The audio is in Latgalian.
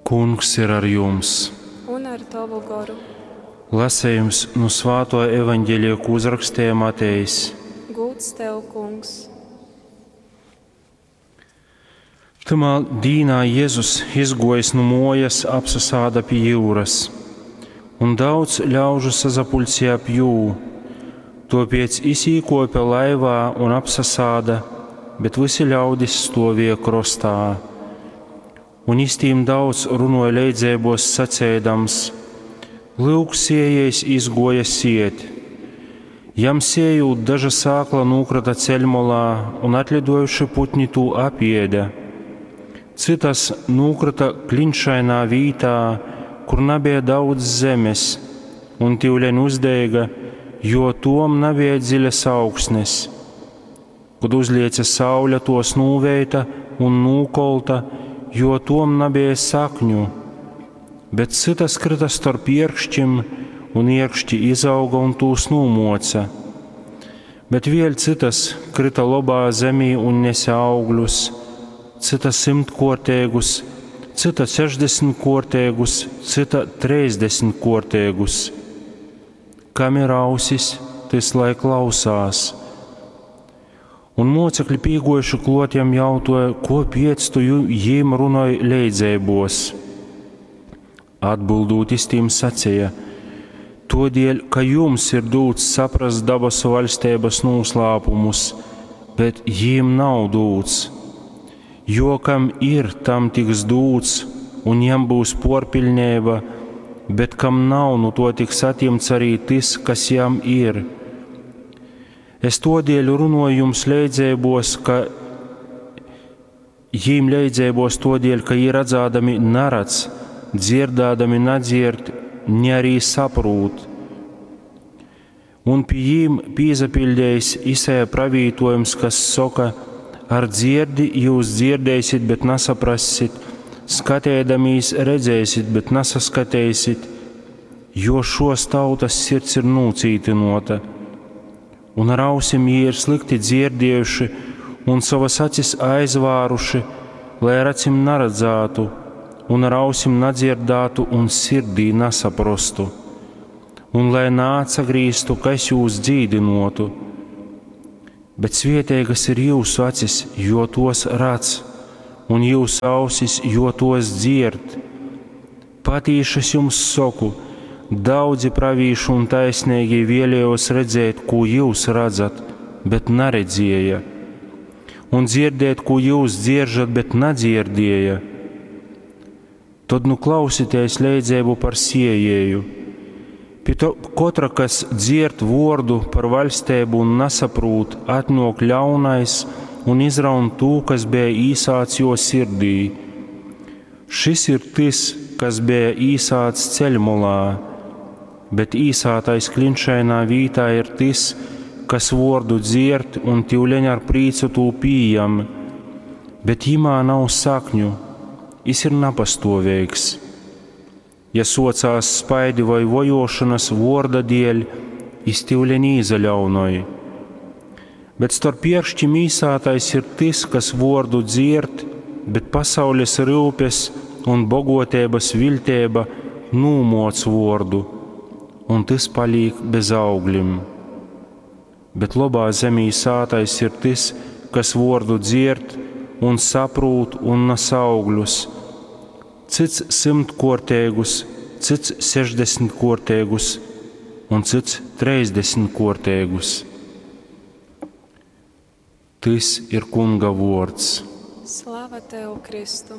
Kungs ir ar jums! Un ar tovu goru. Lasejums nu Svātō Evaņgelija, kū uzraksteja Matejs. Gūds tev, Kungs! Tymā dīnā Jezus, izgōjis nu mōjas, apsasāda pi jyuras. Un daudz ļaužu sasapuļcēja ap jū. Tōpēc jis īkōpe laivā un apsasāda, bet vysi ļaudis stōvēja krostā. Un jis tīm daudz runuoja leidzeibos, saceidams: Lyuk, siejējs izguoja siet. Jam siejūt, daža sākla nūkryta ceļmolā, un atliduojuši putni tū apiede. Cytas nūkryta klinšainā vītā, kur nabeja daudz zemes, un tiuleņ uzdeiga, jo tom nabeja dziļas augsnes. Kod uzliece saule, tuos nūveita un nūkolta, jo tom nabeja sakņu. Bet cytas kryta storp ierkšķim, un ierkšķi izauga un tūs nūmuoca. Bet vēļ cytas kryta lobā zemī un nese augļus, cyta symtkuorteigus, cyta sešdesmitkuorteigus, cyta treisdesmitkuorteigus. Kam ir ausis, tys lai klausās. Un muocekļi pīguojuši kluot jam jautuoja, kuopiec tu jim runoj leidzeibuos? Atbildūt jis tim saceja: Tuodieļ, ka jums ir dūts saprast dabasu vaļsteibys nūslāpumus, bet jim nav dūts. Jo kam ir, tam tiks dūts, un jam byus puorpiļneiba, bet kam nav, nu tuo tiks atjimts arī tys, kas jam ir. Es tuodieļ runoju jums leidzeibuos, ka jīm leidzeibos tuodieļ, ka jī radzādami naradz, dzierdādami nadzierd, ni arī saprūt. Un pi jīm pīsapiļdejis Isaja pravītojums, kas soka: Ar dzierdi jūs dzierdēsit, bet nesaprassit, skatēdamīs redzēsit, bet nesaskateisit, jo šos tautas sirds ir nūcītynota. Un ar ausim jī ir slikti dzierdējuši un sovas acis aizvāruši, lai ar acim naradzātu, un ar ausim nadzirdātu un sirdī nesaprostu, un lai naatsagrīztu, ka es jūs dzīdinotu. Bet svieteigas ir jūsu acis, jo tos redz, un jūsu ausis, jo tos dzird. Patīši es jums saku, daudzi pravīši un taisnīgie vēlējos redzēt, ko jūs redzat, bet neredzēja, un dzirdēt, ko jūs dzieržat, bet nedzirdēja. Tad nu klausieties leidzeibu par siejēju. Pie to, kotra, kas dzierd vordu par vaļsteibu un nesaprūt, atnok ļaunais un izraun tū, kas bija īsāts jo sirdī. Šis ir tys, kas bija īsāts ceļmolā, bet īsātais klinšainā vītā ir tys, kas vordu dzierd un tiuleņ ar prīcu tū pījam, bet jimā nav sakņu, jis ir napastoveigs. Ja socās spaidi vai vojošanas vorda dieļ, jis tiuleņ īzaļaunoj. Bet starp ierkšķim īsātais ir tys, kas vordu dzierd, bet pasaules ryupes un bogoteibas viļteiba nūmoc vordu, un tys palīk bez augļim. Bet lobā zemī sātais ir tys, kas vordu dzierd un saprūt un nes augļus, cits symtkuorteigus, cits sešdesmitkuorteigus un cits treisdesmitkuorteigus. Tys ir Kunga vuords. Slava tev, Kristu!